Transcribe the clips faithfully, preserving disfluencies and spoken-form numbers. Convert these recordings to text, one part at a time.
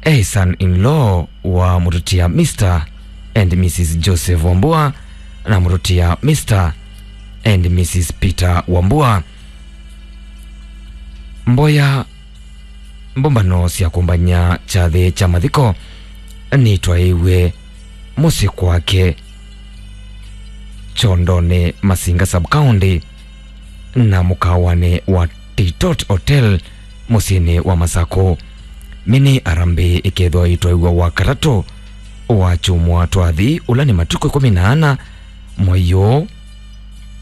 e son-in-law wa mũtũtia Mister and Missus Joseph Wambua na mũtũtia Mister and Missus Peter Wambua. Mboya, mbũmbano sya kũmbany'a kyathĩ kya mathiko nitwaĩiw'e mũsyĩ kwake Kyondonĩ, Masinga Sub-County, na mũkawanĩ wa Titot Hotel mũsyĩnĩ wa Masakũ. Mini harambee ĩkethĩwa ĩtwaĩw'a Wakatatũ wa kyumwa twathi, ũla nĩ matukũ ĩkũmi na ana mwei ũũ,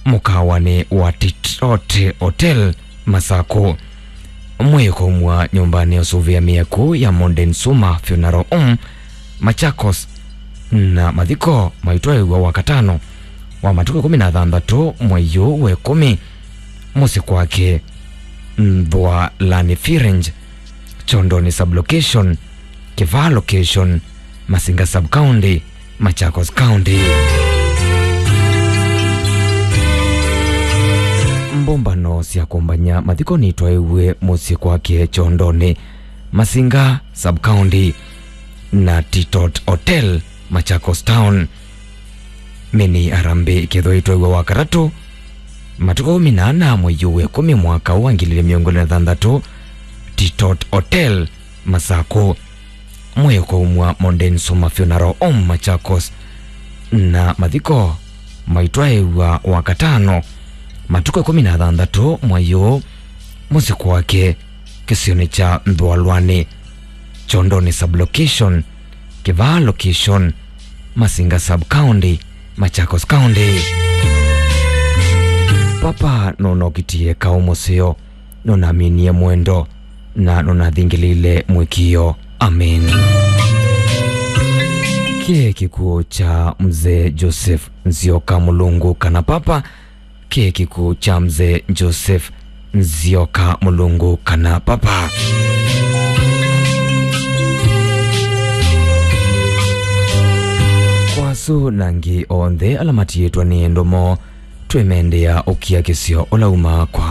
mũkawanĩ wa Titot Hotel, Masakũ. Mwĩĩ ũkaumw'a nyũmbanĩ ya ũsũvĩa mĩaku ya Modern Suma Funeral Home, Machakos, na mathiko maitwaĩw'a Wakatano wa matukũ ĩkũmi na thanthatũ mwei ũũ wa ĩkũmi mũsyĩ kwake Nthwalani Firenze, Kyondonĩ Sub-Location, Kĩvaa Location, Masinga Sub-County, Machakos County. Mbũmbano sya kũmbany'a mathiko nitwaĩw'e mũsyĩ kwake Kyondonĩ, Masinga Sub-County, na Titot Hotel, Machakos Town. Mini harambee ĩkethĩwa ĩtwaĩw'a Wakatatũ, matukũ ĩkũmi na ana mwei ũũ wa ĩkũmi mwaka ũũ wa ngili ilĩ mĩongo ĩlĩ na thanthatũ, Titot Hotel, Masakũ. Mwĩĩ ũkaumw'a Modern Suma Funeral Home, Machakos, na mathiko maitwaĩw'a Wakatano, matukũ ĩkũmi na thanthatũ mwei ũũ, mũsyĩ kwake kĩsionĩ kya Nthwalwani, Kyondonĩ Sub-Location, Kĩvaa Location, Masinga Sub-County, Machakos County. Papa nũnokĩtie kaũ mũseo, nũnaminie mwendo, na nũnathingĩlĩile mũĩkĩĩo. Amen. Kĩĩ kĩkw'ũ kya Mzee Joseph Nzioka Mũlungu kana Papa. Kĩĩ kĩkw'ũ kya Mzee Joseph Nzioka Mũlungu kana Papa. Kwa asu na angĩ onthe ala matiĩtwa nĩ endwa moo, twĩmendea ũkiakĩsyo ũla umaa kwa